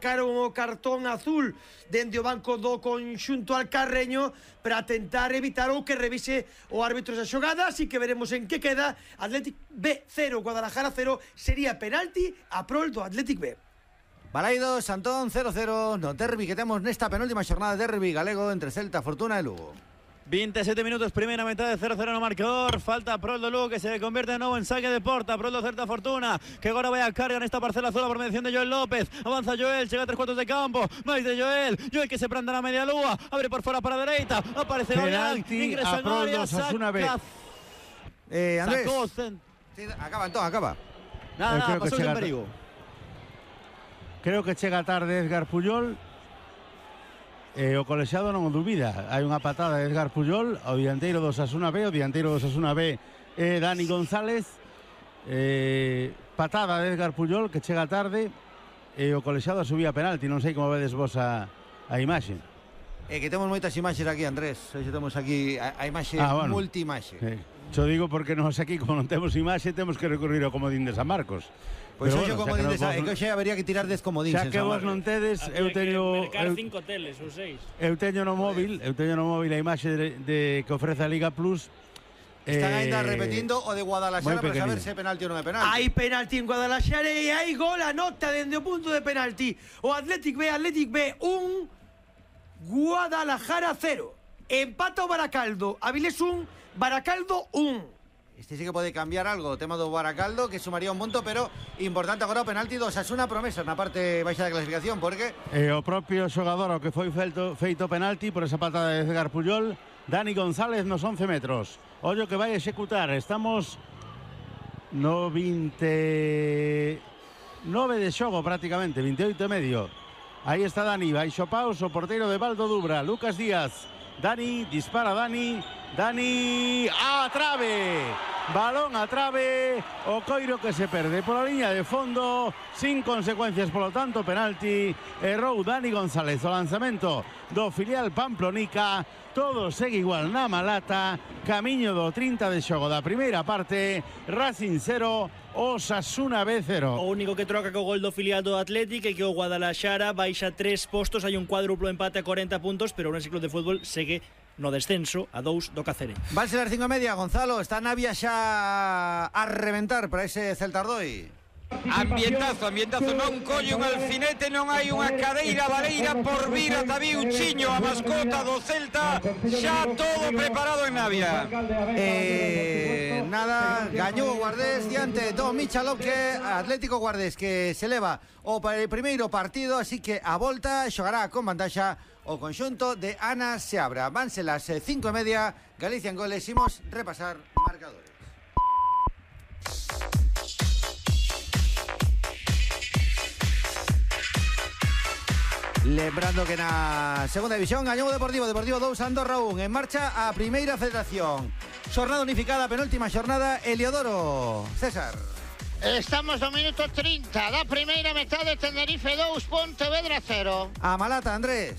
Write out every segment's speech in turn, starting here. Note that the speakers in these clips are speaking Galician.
sacaron o cartón azul dende o banco do conxunto alcarreño para tentar evitar ou que revise o árbitro esa xogada, así que veremos en que queda. Athletic B 0, Guadalajara 0, sería penalti a prol do Athletic B. Balaidos, Antón 0-0 no derbi que temos nesta penúltima xornada de derbi galego entre Celta, Fortuna e Lugo. 27 minutos, primera mitad de 0-0 no marcador. Falta pro do Lugo que se convierte de novo en saque de porta. Pro do Celta Fortuna que agora vai a carga nesta parcela azul por mediación de Joel López. Avanza Joel, chega a 3 cuartos de campo. Mais de Joel que se prende na media lúa. Abre por fora para a dereita. Aparece Golián. Ingresa en área. Saca. Andrés. Sí, acaba, Antón, acaba. Nada, pasou en perigo. Creo que chega tarde Edgar Puyol. O colexiado non o dubida. Hai unha patada de Edgar Puyol ao dianteiro do Osasuna B. O dianteiro do Osasuna B é Dani González. Patada de Edgar Puyol que chega tarde e o colexiado subía penalti. Non sei como vedes vos a imaxe. É que temos moitas imaxes aquí, Andrés. Hoxe temos aquí a imaxe multiimaxe. Xo digo porque nós aquí, como non temos imaxe, temos que recurrir ao comodín de San Marcos. Pois hoxe comodín de San Marcos. É que hoxe habería que tirar des comodíns. Xa que vos non tedes, eu teño... mercar 5 teles ou 6. Eu teño no móvil a imaxe que ofrece a Liga Plus. Están ainda repetindo o de Guadalajara para saber se é penalti ou non é penalti. Hai penalti en Guadalajara e hai gol a nota dende o punto de penalti. O Athletic B 1, Guadalajara 0. Empata o Baracaldo, Avilés 1, Baracaldo 1. Este sí que pode cambiar algo, o tema do Baracaldo, que sumaría un punto, pero importante agora o penalti do Osasuna promesa na parte baixa da clasificación, porque o propio xogador ao que foi feito penalti por esa patada de Edgar Puyol, Dani González nos 11 metros. Ollo que vai executar, estamos no 29 de xogo prácticamente, 28 e medio. Aí está Dani, baixo paus, o porteiro de Valdo Dubra, Lucas Díaz. Dani, dispara Dani a trave, balón a trave, o coiro que se perde pola liña de fondo, sin consecuencias, polo tanto penalti, errou Dani González o lanzamento do filial Pamplonica. Todo segue igual na Malata, camiño do 30 de xogo da primeira parte, Racing 0, Osasuna B 0. O único que troca co gol do filial do Athletic é que o Guadalajara baixa 3 postos, hai un cuádruplo empate a 40 puntos, pero o Ourense Club de Fútbol segue no descenso a 2 do Cáceres. Van ser as 5:30, Gonzalo, está Navia xa a reventar para ese Celta Ardoi. Ambientazo, non colle un alfinete, non hai unha cadeira baleira por vir ata Biuchiño, a mascota do Celta, xa todo preparado en Navia. Nada, gañou o Guardés diante do Michalovque, Atlético Guardés que se leva o primeiro partido, así que a volta xogará con vantaxa o conxunto de Ana Seabra. Vanse las 5:30, Galicia en goles, imos repasar marcadores. Lembrando que na segunda división gañou o Deportivo 2, Andorra 1. En marcha a primeira federación. Xornada unificada, penúltima xornada, Heliodoro. César. Estamos no minuto 30 da primeira metade, Tenerife 2, Pontevedra 0. A Malata, Andrés.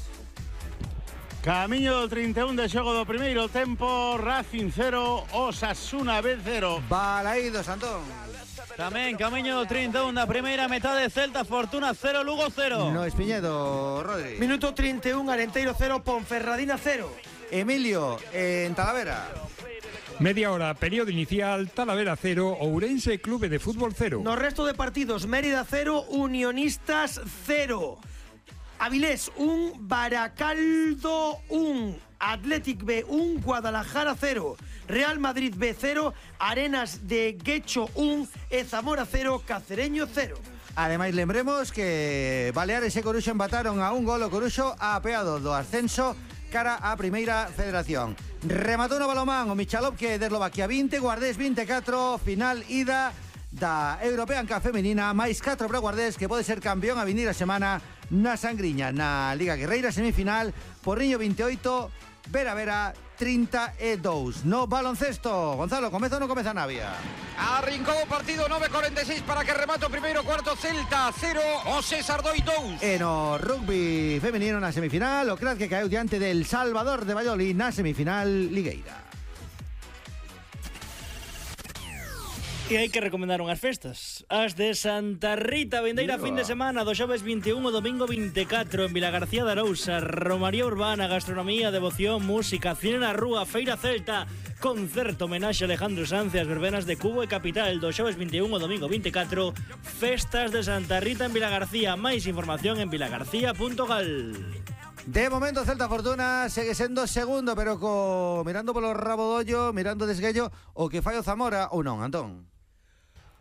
Camiño do 31 de xogo do primeiro tempo, Racing 0, Osasuna B 0. Balaidos, Antón. Tamén camiño do 31 da primeira metade, Celta Fortuna 0, Lugo 0. No Espiñedo, Rodri. Minuto 31, Arenteiro 0, Ponferradina 0. Emilio, en Talavera. Media hora, periodo inicial, Talavera 0, Ourense Club de Fútbol 0. No resto de partidos, Mérida 0, Unionistas 0. Avilés 1, Baracaldo 1, Athletic B 1, Guadalajara 0, Real Madrid B 0, Arenas de Guecho 1 e Zamora 0, Cacereño 0. Ademais, lembremos que Baleares e Coruxo empataron a un gol. O Coruxo apeado do ascenso cara á primeira federación. Rematou no balomán o Michalovque de Eslovaquia 20, Guardés 24, final ida da European Cup femenina, máis 4 para Guardés, que pode ser campeón a vinir a semana na Sangriña. Na Liga Guerreira, semifinal, Porriño 28, Vera 32. No baloncesto, Gonzalo, comeza ou non comeza Navia? Arrincou o partido, 9:46 para que remate o primeiro cuarto. Celta 0, o César Doi 2. E no rugby femenino na semifinal, o Crat que caeu diante del Salvador de Valladolid na semifinal ligueira. E hai que recomendar unhas festas. As de Santa Rita, vindeira fin de semana do xoves 21 o domingo 24 en Vilagarcía de Arousa. Romaría urbana, gastronomía, devoción, música, cine na rúa, feira celta, concerto, homenaxe a Alejandro Sanz e as verbenas de Cubo e Capital do xoves 21 o domingo 24. Festas de Santa Rita en Vilagarcía. Máis información en vilagarcía.gal. De momento Celta Fortuna segue sendo segundo, pero mirando polo rabo do ollo, mirando desguello o que fai o Zamora ou non, Antón?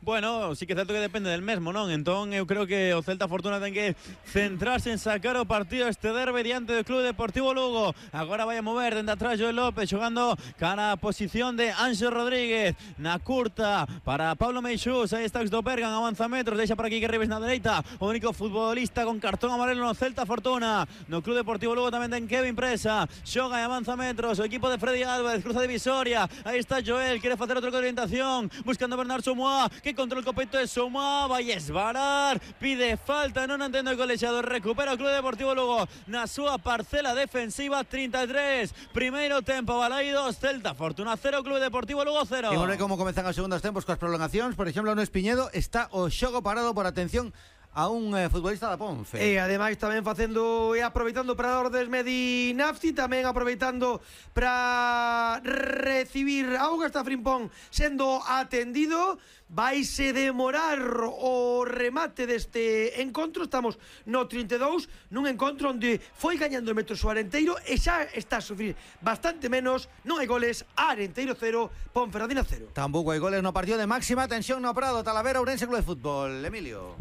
Bueno, sí que é certo que depende del mesmo, non? Entón, eu creo que o Celta Fortuna ten que centrarse en sacar o partido este derbe diante do Club Deportivo Lugo. Agora vai a mover dende atrás Joel López, xogando cara a posición de Anxo Rodríguez. Na curta para Pablo Meixús, aí está do Bergan, avanza metros, deixa por aquí que Rives na dereita. O único futbolista con cartón amarelo no Celta Fortuna. No Club Deportivo Lugo tamén ten Kevin Presa, xoga e avanza metros. O equipo de Freddy Álvarez cruza divisoria. Aí está Joel, quere facer outro de orientación, buscando Bernard Soumoa, que contra el copeto de Soumoa, vai esvarar, pide falta, non entendo o colexiado, recupera o Club Deportivo Lugo na súa parcela defensiva. 33, primeiro tempo, Balaidos, Celta Fortuna 0, Club Deportivo Lugo 0. E vamos ver como comezan os segundos tempos coas prolongacións. Por exemplo, no Espiñedo está o xogo parado por atención a un futbolista da Ponfe. E ademais tamén facendo e aproveitando para Ordes Medinafti, tamén aproveitando para recibir auga, está Frimpón sendo atendido. Vaise demorar o remate deste encontro. Estamos no 32, nun encontro onde foi gañando o Metro Arenteiro e xa está a sufrir bastante menos. Non hai goles, Arenteiro 0, Ponferradina 0. Tampouco hai goles no partido de máxima tensión no Prado, Talavera, Ourense Club de Fútbol. Emilio.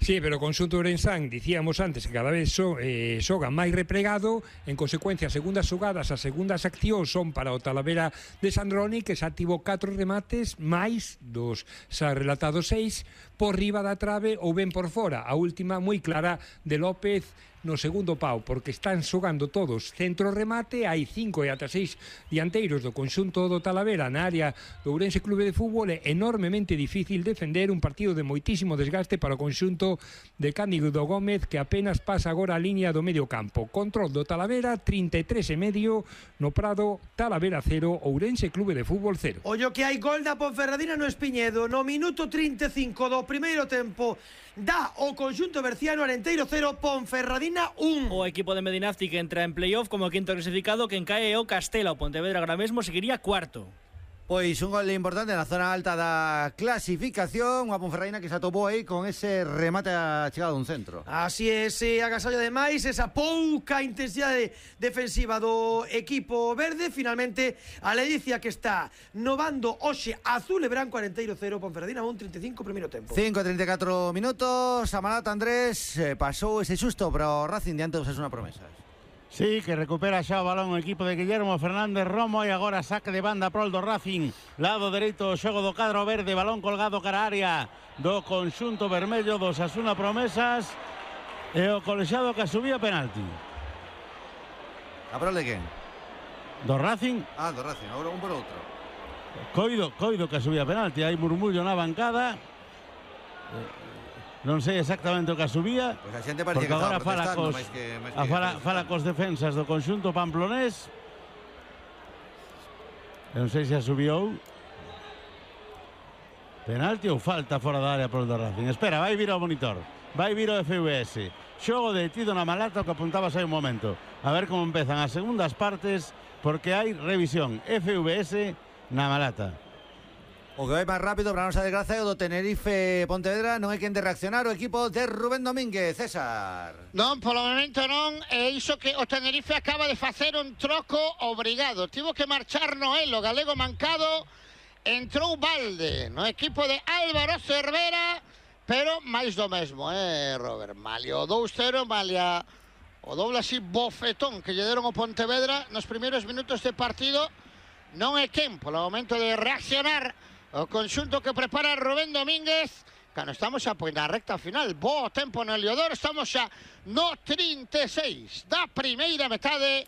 Sí, pero o conxunto ourensán, dicíamos antes que cada vez xoga máis replegado, en consecuencia as segundas xogadas, as segundas accións son para o Talavera de Sandroni, que xa tivo 4 remates, máis dos xa relatados 6, por riba da trave ou ben por fora. A última moi clara de López no segundo pau, porque están xogando todos centro remate, hai 5 e ata 6 dianteiros do conxunto do Talavera na área do Ourense Clube de Fútbol. É enormemente difícil defender un partido de moitísimo desgaste para o conxunto de Cándido Gómez, que apenas pasa agora a liña do medio campo. Control do Talavera, 33,5 no Prado, Talavera 0, Ourense Clube de Fútbol 0. Ollo que hai gol da Ponferradina no Espiñedo no minuto 35 do primeiro tempo. Dá o conxunto berciano, Arenteiro 0, Ponferradina 1. O equipo de Medinafti que entra en playoff como quinto clasificado, quen cae o Castela. O Pontevedra agora mesmo seguiría cuarto. Pois un gol importante na zona alta da clasificación. Unha Ponferradina que se atopou aí con ese remate a chegada dun centro. Así é, ese agasallo ademais, esa pouca intensidade defensiva do equipo verde. Finalmente, a ledicia que está no bando hoxe azul e branco, Arenteiro 0, Ponferradina 1, 35 primeiro tempo. 5:34 minutos. Amalata Andrés pasou ese susto para o Racing diante dos Osasuna Promesas. Sí, que recupera xa o balón o equipo de Guillermo Fernández Romo e agora saque de banda prol do Racing. Lado dereito, xogo do cadro verde, balón colgado cara a área do conxunto vermello dos Osasuna Promesas e o colexiado que subía penalti. A prol de quen? Do Racing. Ah, do Racing, agora un por outro. Coido que subía penalti, hai murmullo na bancada. Non sei exactamente o que subía, pois a xente parecía que agora estaba protestando fala cos defensas do conxunto pamplonés. Non sei se a subiou. Penalti ou falta fora da área por do Racing. Espera, vai vir ao monitor, vai vir o FVS. Xogo detido na Malata, o que apuntabas hai un momento. A ver como empezan as segundas partes, porque hai revisión. FVS na Malata. O que vai máis rápido para a nosa desgracia é o do Tenerife Pontevedra. Non hai quen de reaccionar o equipo de Rubén Domínguez. César. Non, polo momento non. É iso que o Tenerife acaba de facer un troco obrigado. Tivo que marchar Noelo, galego mancado. Entrou Valde no equipo de Álvaro Cervera, pero máis do mesmo, Robert? Malia o 2-0, malia o doble así bofetón que lle deron o Pontevedra nos primeiros minutos de partido. Non é quen polo momento de reaccionar o conxunto que prepara Rubén Domínguez. Cando estamos xa na recta final, bo tempo no Heliodoro, estamos xa no 36 da primeira metade.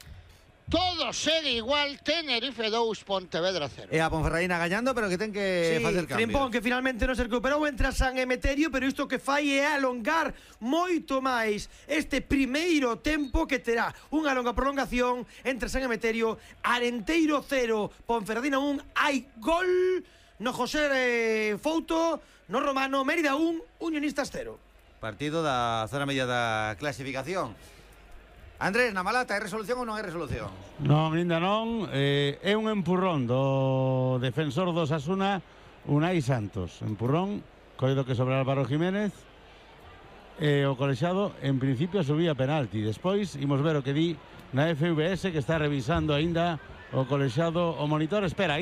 Todo segue igual, Tenerife 2, Pontevedra 0. E a Ponferradina gañando, pero que ten que facer cambios. Frimpón, que finalmente non se recuperou, entra San Emeterio, pero isto que fai é alongar moito máis este primeiro tempo, que terá unha longa prolongación entre San Emeterio, Arenteiro 0, Ponferradina 1. Hai gol no José Fouto, no Romano, Mérida 1, Unionistas 0. Partido da zona media da clasificación. Andrés, na Malata, hai resolución ou non hai resolución? Non, ainda non. É un empurrón do defensor do Osasuna, Unai Santos. Empurrón, coido que sobre Álvaro Jiménez. O colexiado, en principio, subía penalti. Despois, imos ver o que di na FVS, que está revisando aínda o colexiado o monitor. Espera,